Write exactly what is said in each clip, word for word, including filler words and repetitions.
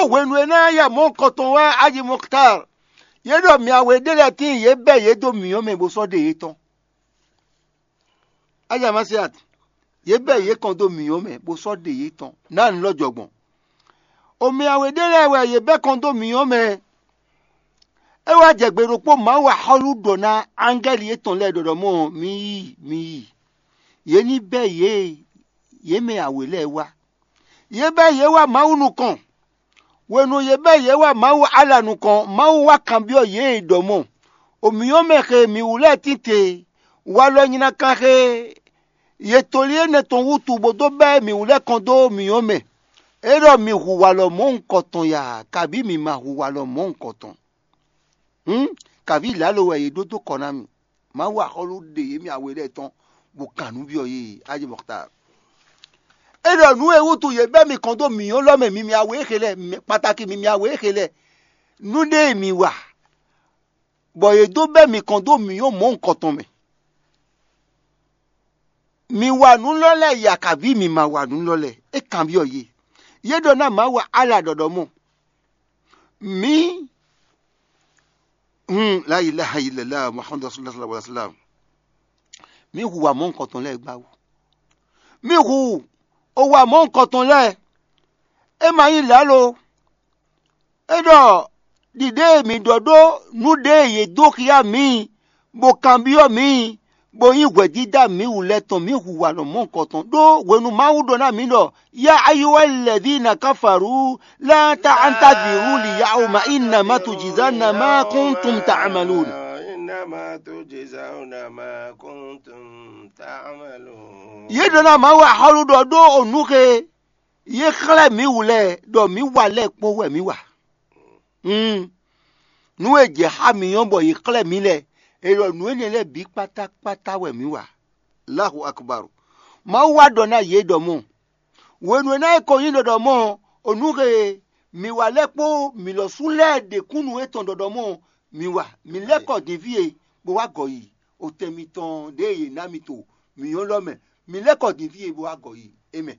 Hwenu e ná ya mɔ̌ kɔtɔn wɛ Aji Mɔktar, yě ɖɔ mǐ awe ɖé lɛ́ɛ tíin yě bɛ́ yě dó mǐyɔ́ mɛ bó sɔ́ ɖe yětɔn. Aja Masiat, yě bɛ́ yě kɔn dó mǐyɔ́ mɛ bó sɔ́ ɖe yětɔn ná nǔ lɔ jɔ gbɔn. Omɛ awe ɖé lɛ́ɛ wɛ yě bɛ́ kɔn dó mǐyɔ́ mɛ. É wá jɛ gbe ɖokpó Mawu axɔ́lú ɖɔ ná angɛ́li yětɔn lɛ́ɛ ɖɔɖɔ mɔ mi yi, mi yi. Yě ní bɛ́ yě yě mɛ awe lɛ́ɛ wá. Yě bɛ́ yě wá Mawu nukɔn. Hwenu yě bɛ́ yě wá Mawu Ala nukɔn, Mawu wá kanbyɔ́ yě ɖɔ mɔ: Omǐyɔ́mɛ xe mǐ wú lɛ́ɛ tínte, walɔ nyinakan xe ye tolí énɛ́ tɔn wútu bó dó bɛ́ mǐ wú lɛ́ kɔn dó mǐyɔ́mɛ. É ɖɔ mǐ hu walɔ mɔ̌hunkɔtɔn ya, kabǐ mǐ ma hu walɔ mɔ̌hunkɔtɔn. Hǔn, kabǐ lǎlo wɛ yě ɖó dó kɔ ná mì. Mawu axɔ́lú ɖe yě mì awe lɛ́ɛ tɔn, bó kan nǔ byɔ́ yě. Aji Mɔktar. É ɖɔ nǔ e wútu yě bɛ́ mi kɔn dó mǐyɔ́ lɔ mɛ, mi mì awe e xe lɛ́ɛ, kpatáki mi mì awe e xe lɛ́ɛ. Nǔ ɖé e mi wa, bɔ yě dó bɛ́ mi kɔn dó mǐyɔ́ mɔ̌hunkɔtɔn mɛ. Mi wa nǔ lɔ lɛ́ɛ ya, kabǐ mi ma wa nǔ lɔ lɛ́ɛ? É kanbyɔ́ yě. Yě ɖɔ ná Mawu Ala ɖɔɖɔ mɔ. Mǐ, hun, la ilaha illallah Muhammadu Rasulullah sallallahu alaihi wasallam. Mǐ hu wa mɔ̌hunkɔtɔn lɛ́ɛ gbá wú. Mǐ hu o wa mɔ̌hunkɔtɔn lɛ́ɛ. É ma nyí lǎlo. É ɖɔ ɖiɖe e mǐ ɖɔ ɖó nǔ ɖe e yě dó xyá mǐ, bó kanbyɔ́ mǐ, bó nyí hwɛdídá mǐ wú lɛ́ɛ tɔn, mǐ hu wa nɔ mɔ̌hunkɔtɔn. Ɖó hwenu Mawu ɖɔ ná mǐ ɖɔ: Ya ayyuha alladhina kafaru, la ta'taziru al-yawma innama tujzawna ma kuntum ta'malun. Innama tujzawna ma kuntum ta'malun. Yě ɖɔ ná Mawu axɔ́lú ɖɔ ɖó o nǔ xe yě xlɛ́ mǐ wú lɛ́ɛ ɖɔ mǐ wa lɛ́ɛ kpó wɛ mǐ wa. Mm. Nǔ e jɛ xá mǐ ɔ́ bɔ yě xlɛ́ mǐ lɛ́ɛ, è ɖɔ nǔ énɛ́ lɛ́ɛ bǐ kpátákpátá wɛ mǐ wa. Allahu akbar. Mawu wá ɖɔ ná yě ɖɔ mɔ̌. Hwenu e ná é ko nyí ɖɔɖɔ mɔ̌ ɔ́, o nǔ he mǐ wa lɛ́ɛ kpó mǐ lɔ sú lɛ́ɛ ɖe kúnnu étɔn ɖɔɖɔ mɔ̌ ɔ́, mǐ wa. Mǐ lɛ́ kɔ din fí e bó wá gɔ yi otɛn mitɔn ɖě e yě ná mi to mǐ nyɔ́ lɔ mɛ. Mǐ lɛ́ kɔ din fí e bó wá gɔ yi é mɛ.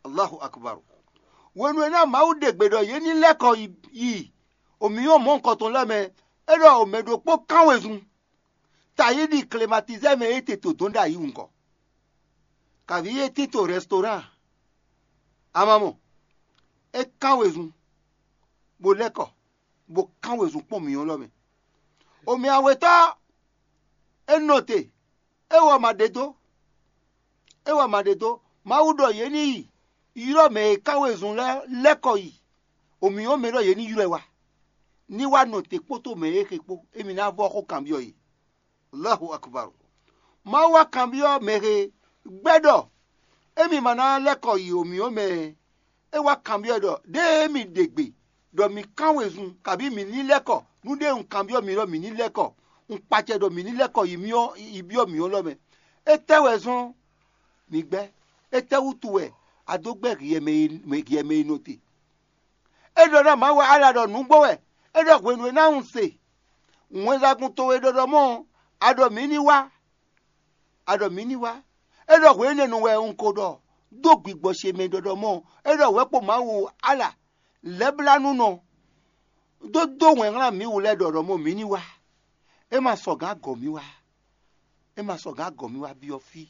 Allahu akbar. Hwenu e ná Mawu ɖe gbe ɖɔ yě ní lɛ́ kɔ yi, yi omǐyɔ́ mɔ̌hunkɔtɔn lɛ́ɛ mɛ, é ɖɔ omɛ ɖokpó kán wezun. Tayíɖi klimatizɛ́ mɛ é te to dɔn ɖ'ayǐ wungɔ. Kaví é tito rɛstoran. Amamɔ, é kán wezun, bó lɛ́ kɔ, bó kán wezun kpɔ́n mǐyɔ́ lɔ mɛ. Omɛ awetɔ́, é nɔ te, é wɔ ma ɖe dó. É wɔ ma ɖe dó. Mawu ɖɔ yě ní yi ylɔ́ mɛ e kán wezun lɛ́ɛ lɛ́ kɔ yi. Omǐyɔ́ mɛ ɖɔ yě ní ylɔ́ ɛ wá, ní wá nɔ te kpódó mɛ e xe kpó, émí ná vɔ́ xó kanbyɔ́ yě. Allahu akbar. Mawu wá kanbyɔ́ mɛ he gbɛ́ ɖɔ émí ma ná lɛ́ kɔ yi omǐyɔ́ mɛ ɛ. É wá kanbyɔ́ ɖɔ ɖěe mì ɖe gbe ɖɔ mǐ kán wezun, kabǐ mǐ ní lɛ́ kɔ, nú ɖěe un kanbyɔ́ mi ɖɔ mǐ ní lɛ́ kɔ, un kpacɛ ɖɔ mǐ ní lɛ́ kɔ yi myɔ yi byɔ́ mǐ ɔ́ lɔ mɛ. Étɛ́ wɛ zɔ́n mǐ gbɛ́? Étɛ́ wútu wɛ a dó gbɛ́ hiɛ mɛ e hiɛ mɛ e nɔ te? É ɖɔ ná Mawu Ala ɖɔ nǔgbó wɛ. É ɖɔ hwenu e ná un se wɛnsagun towe ɖɔɖɔ mɔ́ ɔ́, a ɖɔ mǐ ní wá. A ɖɔ mǐ ní wá. É ɖɔ hwenu énɛ́ nu wɛ un ko ɖɔ dó gbigbɔ ce mɛ ɖɔɖɔ mɔ́ ɔ́, é ɖɔ wɛ̌ kpo Mawu Ala lɛ́blánúnɔ dó dó wɛn hlán mǐ wú lɛ́ɛ ɖɔɖɔ mɔ́ mǐ ní wá. É ma sɔ gǎn gɔ̌ mì wá. É ma sɔ gǎn gɔ̌ mì wá byɔ́ fí,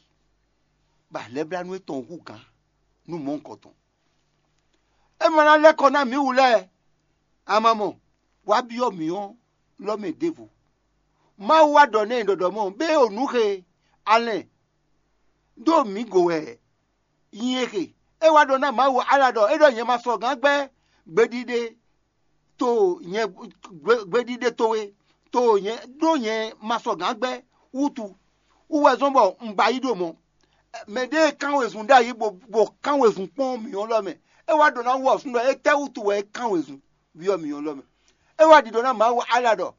bɔ alɛblánú étɔn hú gǎn nú mɔ̌hunkɔtɔn. É ma ná lɛ́ kɔ ná mǐ wú lɛ́ɛ, a ma mɔ, wá byɔ́ mǐ ɔ́ lɔ mɛ ɖěvo. Mawu wá ɖɔ n'i ɖɔɖɔ mɔ bé o nǔ xe alɛn ɖó mǐ go wɛ nyi e xe. É wá ɖɔ ná Mawu Ala ɖɔ é ɖɔ nyɛ ma sɔ gǎn gbɛ́ gbeɖiɖe to nyɛ gbeɖiɖe towe to nyɛ ɖó nyɛ ma sɔ gǎn gbɛ́ wútu. Wú wɛ zɔ́n bɔ un ba yí ɖo mɔ̌. Mɛ ɖé e kán wezun ɖ'ayǐ bó bó kán wezun kpɔ́n mǐ ɔ́ lɔ mɛ. É wá ɖɔ ná wú ɔ̌ súnnu é tɛ́ wútu wɛ é kán wezun byɔ́ mǐ ɔ́ lɔ mɛ. É wá ɖiɖɔ ná Mawu Ala ɖɔ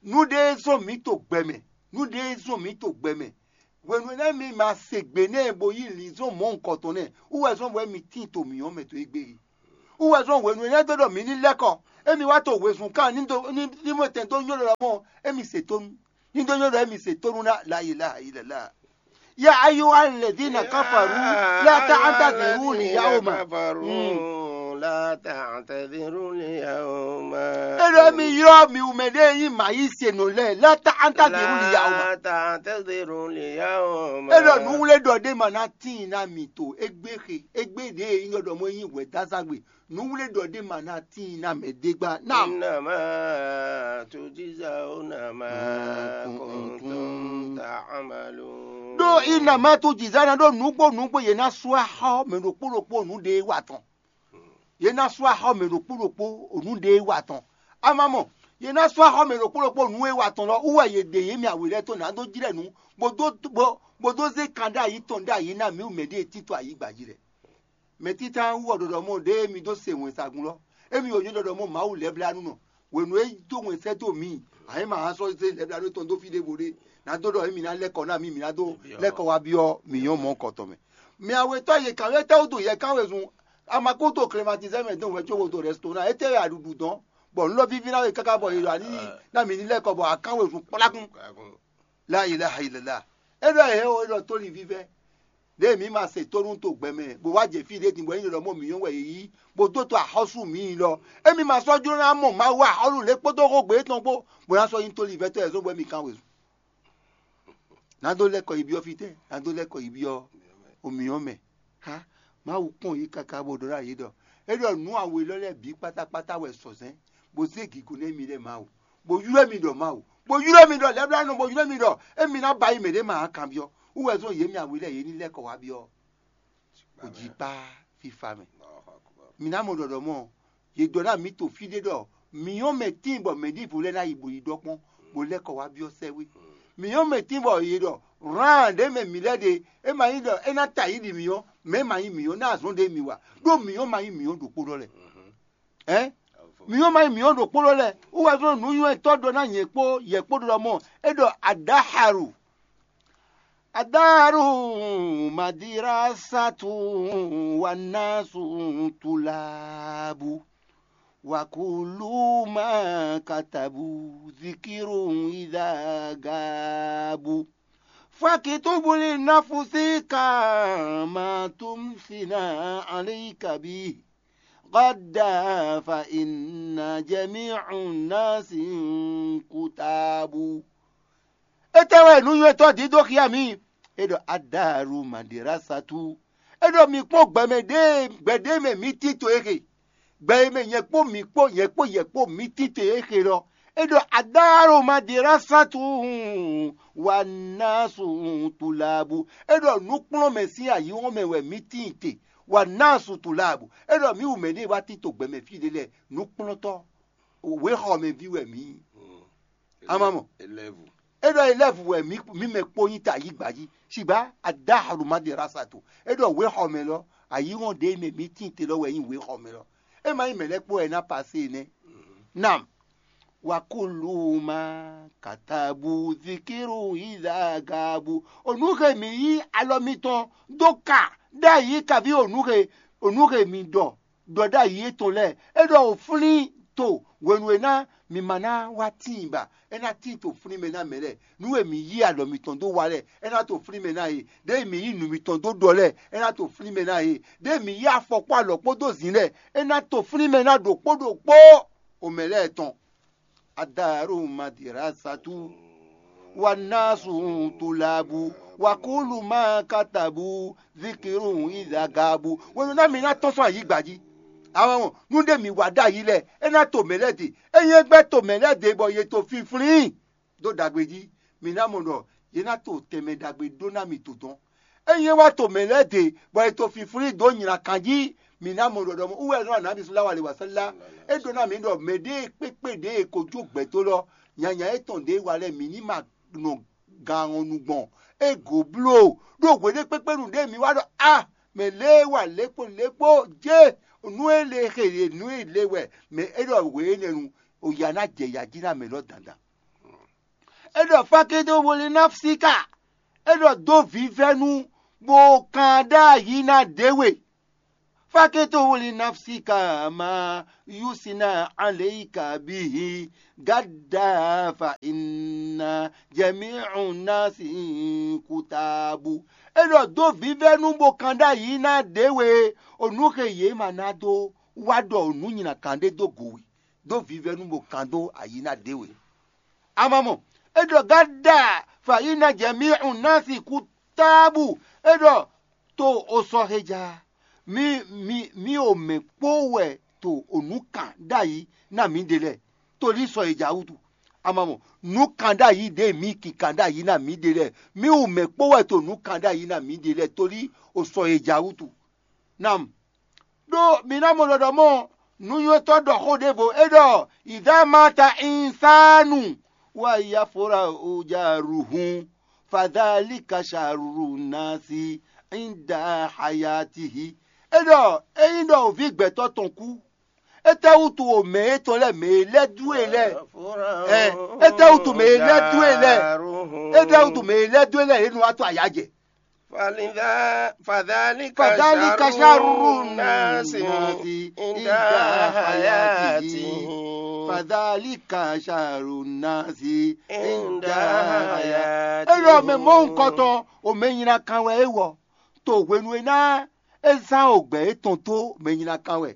nǔ ɖé zɔ́n mǐ to gbɛ mɛ, nǔ ɖé zɔ́n mǐ to gbɛ mɛ. Hwenu énɛ́ mi ma se gbe nɛ́ bó yí linzɔn mɔ̌hunkɔtɔn nɛ́ wú wɛ zɔ́n bɔ émi tíin to mǐ ɔ́ mɛ to égbé é. Wú wɛ zɔ́n hwenu énɛ́ dó ɖɔ mǐ ní lɛ́ kɔ, émi wá to wezun kan ní dó ní ní mɔ tɛn dó nyɔ́ ɖɔ mɔ émi se tónú, ní dó nyɔ́ ɖɔ émi se tónú ná la ilaha illallah. Ya ayyuha alladhina kafaru la ta'taziru al-yawma. تعتذروا اليوم. É ɖɔ mi ylɔ́ mi wú mɛ ɖé nyí mǎ yí se nɔ lɛ́ɛ, la ta an ta zerú li ya o ma. لا تعتذروا اليوم. É ɖɔ nǔwlé ɖɔ ɖé ma ná tíin ná mi to égbé xe, égbé ɖě e nyí ɖɔ mɔ nyí hwɛ̌dázágbe. Nǔwlé ɖɔ ɖé ma ná tíin ná mɛ ɖé gbá. Ná إنما تجزون ما كنتم تعملون. Ɖó inama tó jǐzá ná ɖó nǔgbó nǔgbó yě ná sú axɔ mɛ ɖokpó ɖokpó nǔ ɖé wa tɔn. Yě ná sú axɔ mɛ ɖokpó ɖokpó nǔ ɖé wa tɔn. Amamɔ, yě ná sú axɔ mɛ ɖokpó ɖokpó nǔ e wa tɔn lɔ wú wɛ yě ɖe yě mɛ awe lɛ́ɛ tó ná dó jlɛ́ nǔ, bó dó bó bó dó zé kan ɖó ayi tɔn ɖó ayi ná mǐ wú mɛ ɖíe tito ayǐ gba jí lɛ. Mɛ títá wú ɔ ɖɔɖɔ mɔ ɖěe mi dó se wɛnsagun lɔ, émi wǒ nyí ɖɔɖɔ mɔ Mawu lɛ́blánúnɔ. Hwenu e dó wɛn sɛ́ dó mǐ, a yě ma hán sɔ́ zé lɛ́blánú tɔn dó fí ɖěvo ɖé, ná dó ɖɔ émi ná lɛ́ kɔ ná mǐ, mǐ ná dó lɛ́ kɔ wá byɔ́ mǐ nyɔ́ mɔ̌ kɔtɔn mɛ. Mɛ awe tɔ́ yě kán wɛ tɛ́ wútu yɛ kán wezun? Amakuto klematizɛ́ mɛ dɔn wɛ có wo do rɛstona, étɛ́ wɛ aɖuɖu dɔn, bɔ nǔ lɔ víví ná we káká bɔ yě ɖɔ ní ná mǐ ní lɛ́ kɔ bɔ a kán wezun kplákún. La ilaha illallah. É ɖɔ yě o, é ɖɔ tóli vívɛ́. Ɖěe mǐ ma se tónú to gbɛ mɛ, bó wá jɛ fí ɖé din bɔ é nyí ɖɔ mɔ mǐ nyɔ́ wɛ yě yí, bó dó to axɔ́sú mǐ yi lɔ. Émi ma sɔ́ jló ná mɔ Mawu axɔ́lú lě kpódó xógbe étɔn kpó, bó ná sɔ́ nyí tóli vɛ́tɔ́ yɛ zɔ́n bɔ émi kán wezun. Ná dó lɛ́ kɔ yi byɔ́ fítɛ́? Ná dó lɛ́ kɔ yi byɔ́ omǐ ɔ́ mɛ. Há, Mawu kpɔ́n yě káká bó ɖɔ ɖó ayǐ ɖɔ é ɖɔ nǔ awe lɔ lɛ́ɛ bǐ kpátákpátá wɛ sɔ̌zɛ́n, bó zé gǐgó nú émi lɛ́ɛ Mawu, bó ylɔ́ émi ɖɔ Mawu, bó ylɔ́ émi ɖɔ lɛ́blánɔ, bó ylɔ́ émi ɖɔ émi ná ba yi mɛ ɖě ma kanbyɔ́. Wú wɛ zɔ́n yě mɛ awe lɛ́ɛ yě ní lɛ́ kɔ wá byɔ́. Kò jí kpá fífá mɛ. Mǐ ná mɔ ɖɔɖɔ mɔ, yě ɖɔ ná mǐ to fí ɖé ɖɔ mǐ nyɔ́ mɛ tíin bɔ mɛ ɖěvo lɛ́ɛ ná yi bó yi ɖɔ kpɔ́n, bó lɛ́ kɔ wá byɔ́ sɛ́ wé. Mǐ nyɔ́ mɛ tíin bɔ yě ɖɔ hlan ɖě mɛ mǐ lɛ́ ɖe, é ma nyí ɖɔ é ná ta yí ɖi mǐ nyɔ́, mɛ é ma nyí mǐ nyɔ́ ná azɔn ɖé mì wa, ɖó mǐ nyɔ́ ma nyí mǐ nyɔ́ ɖokpó ɖɔ lɛ́. Ɛ̌, mǐ nyɔ́ ma nyí mǐ nyɔ́ ɖokpó ɖɔ lɛ́. Wú wɛ zɔ́n nǔnywɛ́tɔ́ ɖɔ ná nyɛ kpó yɛ kpó ɖɔ mɔ é ɖɔ adáharu. Adáharu madirasatu wa nasu tulabu. Wa kulu ma katabu zikiru idagabu. Fakitubu li nafusika ma tumsina alayka bi. Gada fa inna jami'u nasi kutabu. Étɛ́ wɛ nǔnywɛ́tɔ́ dídó xia mì? É ɖɔ adáru madirasatu. É ɖɔ mi kpɔ́n gbɛmɛ ɖé gbɛɖé mɛ mǐ tito e xe. Gbɛ e mɛ nyɛ kpó mǐ kpó nyɛ kpó yɛ kpó mǐ tito e xe lɔ. É ɖɔ adáru madirasatu wa nasu tulabu. É ɖɔ nǔkplɔ́nmɛ sín ayǐhɔ́n mɛ wɛ mǐ tíin te. Wa nasu tulabu. É ɖɔ mǐ wú mɛ ɖé wá tito gbɛmɛ fí ɖé lɛ́ɛ, nǔkplɔ́ntɔ́ wěxɔmɛví wɛ mǐ nyí. Ama mɔ. Élève. É ɖɔ élève wɛ mǐ mǐ mɛ kpó nyí ta yí gba jí. Sigba adáhalu madirasatu. É ɖɔ wěxɔmɛ lɔ, ayǐhɔ́n ɖé mɛ mǐ tíin te lɔ wɛ nyí wěxɔmɛ lɔ. É ma nyí mɛ lɛ́ɛ kpó wɛ é ná pasé nɛ́. Nam. Wa kulu ma katabu zikiru izagabu. Onúxe mǐ yí alɔ mitɔn dó ka ɖ'ayǐ kaví onúxe onúxe mǐ ɖɔ ɖɔ ɖ'ayǐ étɔn lɛ́ɛ. É ɖɔ wǒ flín to hwenu e ná mǐ ma ná wá tíin ba, é ná tíin to flín mɛ ná mɛ lɛ́ɛ. Nǔ e mǐ yí alɔ mitɔn dó wa lɛ́ɛ, é ná to flín mɛ ná yě. Ɖěe mǐ yí nǔ mitɔn dó ɖɔ lɛ́ɛ, é ná to flín mɛ ná yě. Ɖěe mǐ yí afɔ kpó alɔ kpódó zǐn lɛ́ɛ, é ná to flín mɛ ná ɖokpó ɖokpó omɛ lɛ́ɛ tɔn. Adaru madirasatu wa nasu tulabu wa kulu ma katabu zikiru izagabu. Wenu ná mi ná tɔ́n sɔ́ ayǐgba jí. Àwọn nú ɖé mi wa ɖ'ayǐ lɛ, é ná to mɛ lɛ́ɛ ɖe. É nyí gbɛ́ to mɛ lɛ́ɛ ɖe bɔ yě to finflín dó ɖagbe jí. Mi ná mɔ ɖɔ yě ná to tɛnmɛ ɖagbe ɖó ná mi to dɔn. Ényí é wá to mɛ lɛ́ɛ ɖe bɔ è to finflín dó nylá kan jí, mǐ ná mɔ ɖɔɖɔ mɔ wú wɛ nɔ anabi sɔ́ lá wa lě wá sɛ́ lá. É ɖó ná mǐ ɖɔ mɛ ɖé kpékpé ɖě e ko jó gbɛ̌ dó lɔ, nyanya étɔn ɖě wa lɛ́ɛ mǐ ní ma nɔ gan ɔ́ nu gbɔn. É gǒ bló ɖó hweɖé kpékpé nu ɖě mǐ wá ɖɔ a mɛ lě wa lě kpó lě kpó jé nú é le xe nú é le wɛ mɛ é ɖɔ hwe énɛ́ nu, o ya ná jɛ ya jí ná mɛ lɔ dandan. É ɖɔ fakédó woli náfsíkà. É ɖɔ dó vǐvɛ́ nú bó kan ɖ'ayǐ ná ɖě we. Fakédó woli náfsíkà ma yúsina aléyíkà bíhi gádà fa iná jɛmí ọ̀nà sí kútàbù. É ɖɔ dó vǐvɛ́ nú bó kan ɖ'ayǐ ná ɖě we, onúxe yě ma ná dó wá ɖɔ nǔ nyi nǎ kan ɖé dó go we, dó vivɛnu bó kan dó ayi ná ɖě we. A ma mɔ, é ɖɔ gǎda fǎyíná jɛ mí un ná si kú tábù, é ɖɔ to o sɔ heja, mí mí mí o mɛ kpó wɛ to o nǔ kan ɖ'ayǐ ná mǐɖée lɛ́ɛ, to ní sɔ heja wútu. A ma mɔ, nǔ kan ɖ'ayǐ ɖě mǐ ki kan ɖ'ayǐ ná mǐɖée lɛ́ɛ, mí o mɛ kpó wɛ to nǔ kan ɖ'ayǐ ná mǐɖée lɛ́ɛ, to ní o sɔ heja wútu. Nam ɖó mǐ ná mɔ ɖɔɖɔ mɔ nǔnywɛ́tɔ́ ɖɔ xó ɖěvo é ɖɔ ìdámata insanu wa yafora ojaruhun fadalika sharu nasi inda hayatihi. É ɖɔ ényí ɖɔ òví gbɛtɔ́ tɔn kú, étɛ́wútu o mɛ étɔn lɛ́ɛ mɛ e lɛ́ dú e lɛ́ɛ ɛ étɛ́wútu mɛ e lɛ́ dú e lɛ́ɛ étɛ́wútu mɛ e lɛ́ dú e lɛ́ɛ é nɔ wá tɔ́ ayǎ jɛ. Fadhalika sharrun nasi inda hayatihi. Fadhalika sharrun nasi inda hayatihi. É ɖɔ mɛ mɔ̌hunkɔtɔn, o mɛ nyina kan wɛ é wɔ, to hwenu e ná é zán ogbɛ étɔn dó mɛ nyina kan wɛ.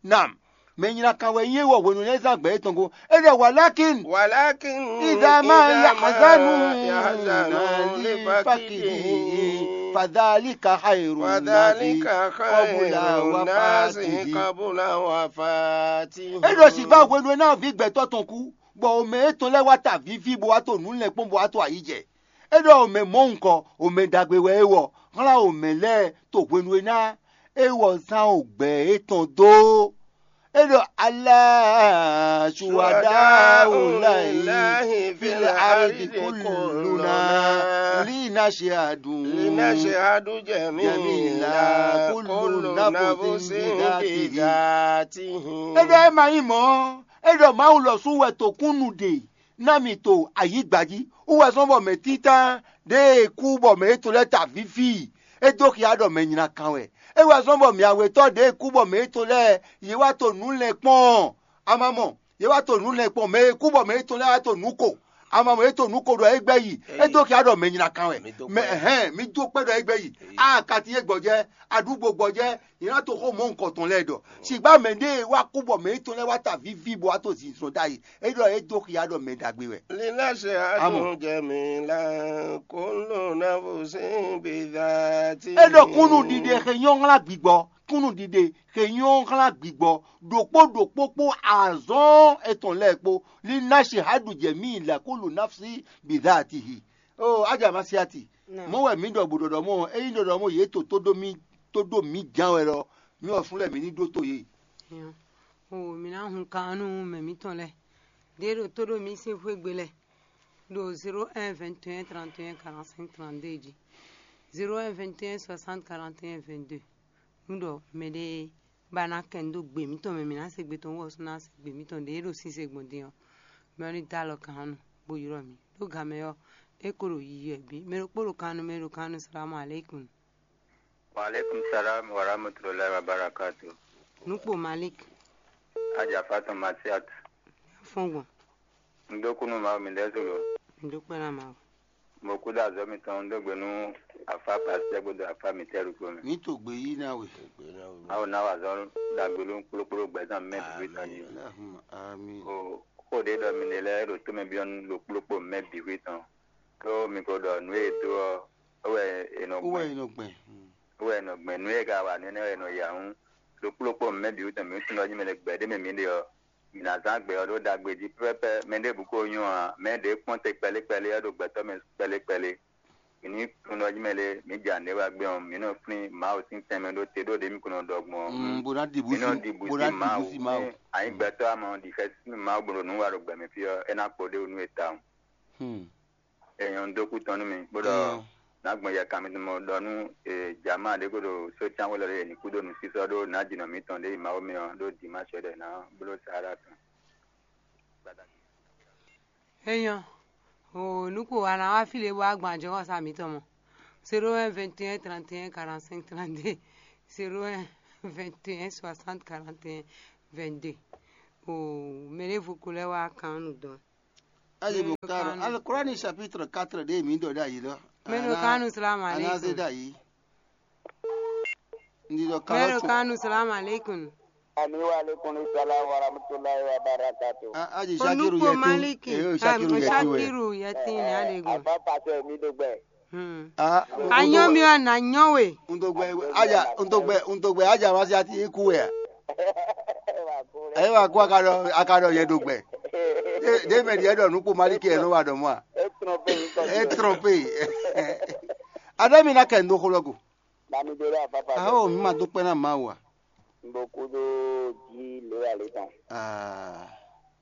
Nam, mɛ nyina kan wɛ nyí é wɔ hwenu e ná é zán gbɛ étɔn gó. É ɖɔ walakin walakin idama yahzanu yahzanu lifakidi fadhalika khairu nasi qabula wafatihi. Qabula wafatihi. É ɖɔ sǐvá hwenu e ná ví gbɛtɔ́ tɔn kú, bɔ omɛ étɔn lɛ́ɛ wá ta víví bó wá to nǔ lɛ́nkpɔ́n bó wá to ayǐ jɛ. É ɖɔ omɛ mɔ̌hunkɔ, omɛ ɖagbe wɛ é wɔ, xlán omɛ lɛ́ɛ to hwenu e ná é wɔ zán ogbɛ étɔn dó. É ɖɔ alá suwada wòláyé fil ardi kulluna lina ṣe adùn. Lina ṣe adùn jẹ̀mí la kullu nafsin bidhatihi. É ɖɔ é ma nyí mɔ̌, é ɖɔ Mawu lɔ sú wɛ to kúnnu ɖe ná mì to ayǐgba jí. Wú wɛ zɔ́n bɔ mɛ títán ɖěe kú bɔ mɛ yětɔn lɛ́ɛ ta víví i, é dó xia ɖɔ mɛ nyina kan wɛ. É wɛ zɔ́n bɔ mɛ awětɔ́ ɖěe kú bɔ mɛ yětɔn lɛ́ɛ yě wá to nǔ lɛ́n kpɔ́n ɔ́, a ma mɔ, yě wá to nǔ lɛ́n kpɔ́n, mɛ e kú bɔ mɛ yětɔn lɛ́ɛ wá to nǔ ko, a ma mɔ, yě to nǔ ko ɖɔ é gbɛ́ yi, é dó xia ɖɔ mɛ nyina kan wɛ. Mɛ hɛn, mi dó kpɛ́ ɖɔ é gbɛ́ yi. A kati e gbɔjɛ, aɖúgbo gbɔjɛ, yě ná to xó mɔ̌hunkɔtɔn lɛ́ɛ ɖɔ. Ṣìgbá mɛ ɖé e wá kú bɔ mɛ yětɔn lɛ́ɛ wá ta víví bɔ wá to zinzɔn ɖ'ayǐ, é ɖɔ é dó xia ɖɔ mɛ ɖagbe wɛ. Lina ṣe adùn jẹ̀mí la kullu nafsin bidhatihi. É ɖɔ kúnnu ɖiɖe xe nyɔ́ xlán gbigbɔ, kúnnu ɖiɖe xe nyɔ́ xlán gbigbɔ, ɖokpó ɖokpó kpó azɔn étɔn lɛ́ɛ kpó. Lina ṣe adùn jẹ̀mí la kullu nafsin bidhatihi. O aja masiati, mɔ̌ wɛ mǐ ɖɔ bǔ ɖɔɖɔ mɔ, ényí ɖɔɖɔ mɔ yě to tó ɖó mì tó ɖó mǐ ján wɛ lɔ, mǐ ɔ́ fún lɛ́ɛ mǐ ní ɖótó yě. O mǐ ná hun kan nú mɛ mǐtɔn lɛ́ɛ ɖě ɖo tó ɖó mǐ sín xwé gbe lɛ́ɛ ɖo zéro un vingt et un trente et un quarante-cinq trente-deux jí, zéro un vingt et un soixante quarante et un vingt-deux. Nú ɖɔ mɛɖé ba ná kɛn dó gbe mǐtɔn mɛ mǐ ná se gbe tɔn wú ɔ́ sú ná se gbe mǐtɔn ɖě ɖo sín se gbɔn din ɔ́, mɛ ɔ́ ní dó alɔ kan nú bó ylɔ́ mǐ. Ɖó gan mɛ ɔ́, é ko ɖo yiyi wɛ bǐ. Mɛ ɖokpó ɖo kan nú mɛ ɖo kan nú salamu aleykum. Wa aleykum salam wa rahmatulahi wa barakatu. Nukpo Malik. Aja Fatou Masiat. Fɔn gbɔn. N dó kú nú Mawu mi ɖɛ́ zolo. N dó kpɛ́ ná Mawu. Mo kú dó azɔ̌ mitɔn, un dó gbe nú afá Pasitɛ́ kpódó afá mitɛ́ ɖokpó mɛ. Mǐ to gbe yí ná we. Mawu ná wa azɔ̌ ɖagbe nú kplókpló gbɛzán mɛ bǐ tɔn jí. Allahumma amin. O xó ɖě ɖɔ mi ɖe lɛ́ɛ ɖo tó mɛ byɔ́ nú ɖo kplókpó mɛ bǐ hwí tɔn. Có mi ko ɖɔ nǔ e è dó ɔ́, é wɛ è nɔ Wú wɛ gbɛn. È nɔ gbɛn. Wú wɛ è nɔ gbɛn. Nǔ e ka wa nǔ énɛ́ wɛ è nɔ ya hǔn, ɖo kplókpó mɛ bǐ wú tɔn mǐ wú tunwun jí mɛ ɖě gbɛ ɖé mɛ mǐ ɖe ɔ́, mǐ ná zán gbɛ ɔ́ ɖó ɖagbe jí pɛ́pɛ́pɛ́. Mɛɖěbǔ ko nyɔ́ ǎ, mɛ ɖě kpɔ́n te kpɛlí kpɛlí ɔ́ ɖo gbɛtɔ́ mɛ kpɛlí kpɛlí. Mǐ ní tunwun jí mɛ ɖé, mǐ ja nǔɖé wá gbé ɔ́, mǐ nɔ flín Mawu sín tɛnmɛ ɖó te ɖó ɖě mǐ ko nɔ ɖɔ gbɔn ɔ́. Mm, bó ná ɖi bǔ Mǐ nɔ sí, ɖi bǔ bó ná sí ɖi Mawu. Bǔ sí Mawu. Ní anyǐ gbɛtɔ́ a ma ɖi xɛsi nú Mawu bó ɖo nǔ wa ɖo gbɛ mɛ fí ɔ́, é ná kpo ɖéwú nú we tawun. Hmm. Èèyàn ń dó kú tɔn nú mi, bó ɖɔ Èèyàn. Nǎ gbɔn yɛ kan mitɔn mɔ ɖɔ nú e, jama ɖé ko ɖo sócánwé lɔ ɖé e ní kú ɖó nǔsísɔ́ ɖó nǎjínɔ mǐtɔn ɖé yi Mawu mɛ ɔ́ ɖó Dimáṣɛ ɖɛ ná bló Saala tɔn. Enyɔ, o nuko wa ná wá fí lě bó wá gbɔn ajɔxɔsá mǐtɔn mɔ. Zéro un vingt et un trente et un quarante-cinq trente-deux, zéro un vingt et un soixante quarante et un vingt-deux. O mɛ ɖěvo ko lɛ́ wá kan nú dɔn. Ayi mo karo. Alukurani chapitre quatre ɖe mi ɖɔ ɖe ayi lɔ. Mɛ ɖo kanu, salamu alaikum. Anaze ɖe ayi. Ndi ɖɔ kanu. Mɛ ɖo kanu, salamu alaikum. Ami wa alaikum salam wa rahmatullahi wa barakatuh. Aji Shakiru Onukpo yɛtin. Maliki. Eyo Shakiru yɛtin wɛ. Shakiru yɛtin ni adego. Afa pasɛ mi do gbɛ. Hmm. Ah, Anyɔ mi wa na nyɔ we. Ntogbe aja ntogbe ntogbe aja ma si ati iku wɛ. Ayi wa ko akadɔ akadɔ yɛ do gbɛ. De de mɛ diɛ dɔ nu ko Maliki yɛ no wa dɔ mɔ a. E trompe. Adami na kɛ ndo xolɔgo. Bami do ɖo afafa. Awo mi ma do kpɛ na ma wa. N bo kúdó jí lě wɛ lě tɔn. Ah,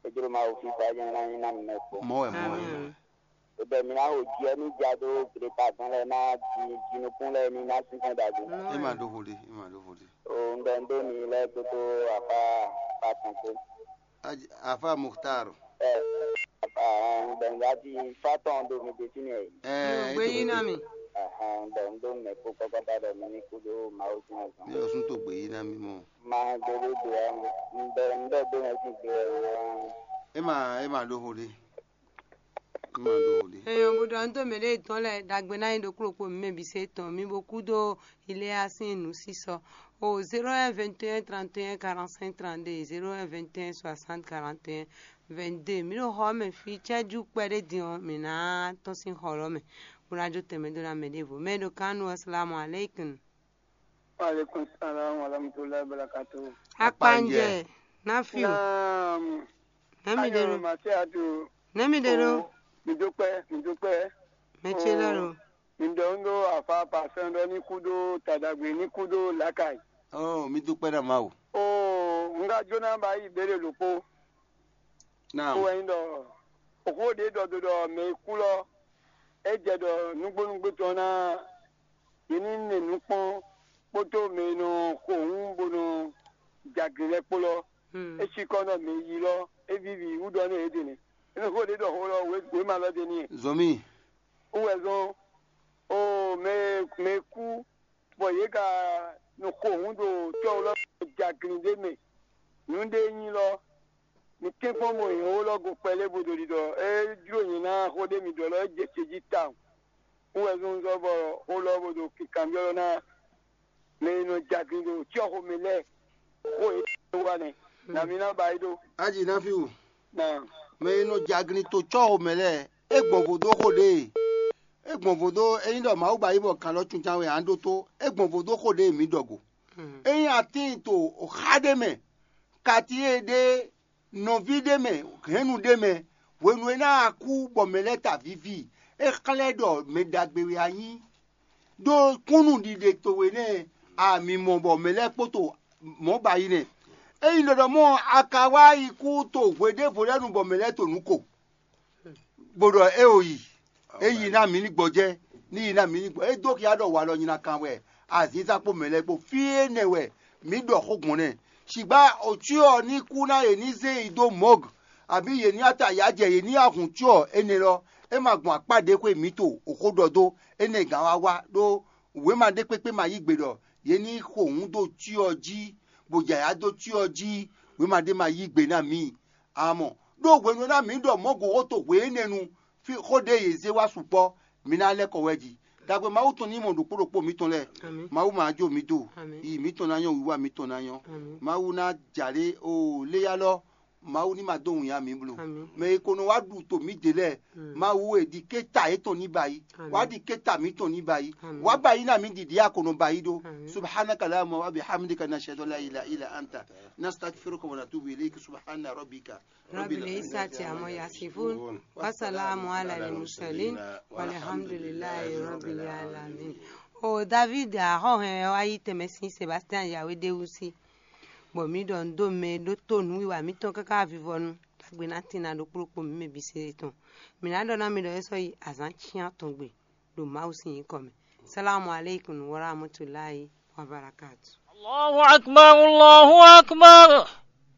Ejló ma wo fífá jɛ́n ná nyí ná mi mɛ kpɔ́n. Mɔ wɛ mɔ wɛ. Amin. Ebɛ mi ná ho jí ɛ ní ja dó glepa gbɔn lɛ ná ji jinukún lɛ ní ná sínsɛ́n ɖagbe. E ma ɖó vo ɖe, e ma ɖó vo ɖe. O un ɖɔ un ɖó mi lɛ gbogbo afa afa tɔn kpó. Afa Mukhtar. Ɛ afa un ɖɔ un ɖa ti fa tɔn ɖo mi ɖe fínɛ́. Ɛ Gbé yí ná mi. Ahan un ɖɔ un ɖó mɛ kpó kɔkɔta ɖɔ mi ní kúdó Mawu sín azɔn. Mi ò sún tó gbé yí ná mi mɔ. Ma gbé ɖé gbé ɔ́, un ɖɔ un ɖɔ gbé mɛ sín gbé ɔ́. E ma e ma ɖó vo ɖe. E ma ɖó vo ɖe. Eyɔn bó ɖɔ ntó mɛ ɖé tɔn lɛ ɖagbe ná nyí ɖokpló kpo mɛ bǐ se tɔn mi bó kú dó iléa sín nǔsísɔ o zéro un vingt et un trente et un quarante-cinq trente-deux, zéro un vingt et un soixante quarante et un vingt-deux. Mi ɖo xɔ mɛ fí cɛ́jú kpɛɖé din ɔ́, mǐ ná tɔ́n sín xɔ lɔ́ mɛ bó ná jó tɛnmɛ dó ná mɛ ɖěvo. Mɛ ɖo kánú ɔ́, salamu aleykum. Aleykum salam wa rahmatulahi wa barakatuh. Akpanjɛ, nafiu. Naam. Nɛmi ɖe ɖo. Masiatu. Nɛmi ɖe ɖo. Mi dúpẹ́, mi dúpẹ́. Mɛ ce lɛ ɖo. Mi ɖɔ ń ɖó afa pasɛn ɖɔ ní kú ɖó tadagbe ní kú ɖó lakai. Oh, mi dúpẹ́ na Mawu. Oh, ń ká jóná bá yí ìbéèrè lòpó. Naam. Kó wɛ nyí ɖɔ òxó ɖě ɖɔ do ɖɔ mɛ e kú lɔ é jɛ ɖɔ nǔgbónúgbó tɔn ná yě ní nɛ nǔ kpɔ́n kpódó mɛ e nɔ xo hǔn bó nɔ jɛ agli lɛ́ɛ kpó lɔ. Hmm. É cí kɔ́ nɔ mɛ yi lɔ é víví wú ɖɔ nú yě ɖe nɛ. É nɔ xó ɖě ɖɔ xó lɔ wěma lɔ ɖe n'i. Zɔmí. Wú wɛ zɔn o mɛ mɛ e kú bɔ yě ka nɔ xo hǔn ɖo tɔ́ lɔ jɛ agli ɖé mɛ. Nǔ ɖé nyí lɔ, mi tɛ́nkpɔ́n mɔ nyɛ ó lɔ go kpɛlɛ bo ɖo ɖiɖɔ é jló nyɛ ná xó ɖé mi ɖɔ lɔ é jɛ ce jí tawun. Kú wɛ zɔnzɔn bɔ xó lɔ bo ɖo kikanbyɔ́ lɔ ná mɛ e nɔ jagun ɖo cyɔ́xomɛ lɛ́ɛ xó e wa nɛ na mi ná ba yi ɖó. Aji ná fi wò. Na Mɛ e nɔ jagun to cyɔ́xomɛ lɛ́ɛ, é gbɔn vodó xó ɖe. É gbɔn vodó ényí ɖɔ Mawu ba yi bɔ kan lɔ cuncan wɛ ǎ ɖótó, é gbɔn vodó xó ɖe mǐ ɖɔ go. Ényí a tíin to xá ɖé mɛ, kati e ɖe nɔví ɖé mɛ, hɛ̌nnu ɖé mɛ, hwenu e ná a kú bɔ mɛ lɛ́ɛ ta víví, é xlɛ́ ɖɔ mɛ ɖagbe wɛ a nyí. Ɖó kúnnu ɖiɖe towe nɛ́ a mi mɔ bɔ mɛ lɛ́ɛ kpóto mɔ̌ ba yi nɛ́. Ényí ɖɔɖɔ mɔ a ka wá yi kú to hwe ɖěvo lɛ́ɛ nu bɔ mɛ lɛ́ɛ to nǔ ko, bó ɖɔ é o yi, é yi ná mǐ ní gbɔjɛ́, ní yi ná mǐ ní gbɔ. É dó xia ɖɔ walɔ nyi ná kan wɛ, azǐnzán kpó mɛ lɛ́ɛ kpó. Fí énɛ́ wɛ mǐ ɖɔ xó gbɔn nɛ́. Sigba òcyɔ ní kú ná yě ní zé yi dó mɔ̌g, abǐ yě ní ata yǎ jɛ yě ní ahun cyɔ énɛ́ lɔ, é ma gbɔn akpá ɖě xwe mǐ to òxó ɖɔ dó énɛ́ gǎn wá wá ɖó wěma ɖé kpékpé ma yí gbe ɖɔ yě ní xo hǔn dó cyɔ jí, bó jɛ ayǎ dó cyɔ jí, wěma ɖé ma yí gbe ná mǐ. Amɔ ɖó hwenu e ná mǐ ɖɔ mɔ̌ gǒxo to hwe énɛ́ nu, fí xó ɖé yě zé wá sukpɔ́, mi ná lɛ́ kɔ wɛ jí. Dagbe Mawu tɔn ní mɔ ɖokpó ɖokpó mǐtɔn lɛ́ɛ. Mawu ma jó mǐ do, yi mǐtɔn ná nyɔ́, wiwa mǐtɔn ná nyɔ́. Mawu ná jalě o léyá lɔ, Mawu ní ma dó wǐnnya mǐ bló. Mɛ e ko nɔ wá ɖu to mǐ dě lɛ́ɛ, Mawu e ɖi kéta yětɔn ní ba yi, wá ɖi kéta mǐtɔn ní ba yi, wá ba yi ná mǐ ɖiɖi a ko nɔ ba yi ɖó. Subhanaka Allahumma wa bihamdika, nashhadu an la ilaha illa anta, nastaghfiruka wa natubu ilayk. Subhana rabbika. Rabbil izzati amma yasifun. Wa salamun ala al mursalin. Walhamdulillahi rabbil alamin. O David, axɔ́ hɛn wá yí tɛnmɛ sín Sebastian Yawédéwúsí, bɔ mǐ ɖɔ nǔ dó mɛ e ɖótó nǔwiwa mǐtɔn káká vivɔnu. Tagbe ná tín ná ɖokpló kpo mǐ mɛ bǐ se tɔn. Mǐ ná ɖɔ ná mi ɖɔ é sɔ́ yi azǎn cyán tɔn gbe ɖo Mawu sín nyǐkɔ mɛ. Salamu aleykum wa rahmatulahi wa barakatu. Allahu akbar, Allahu akbar.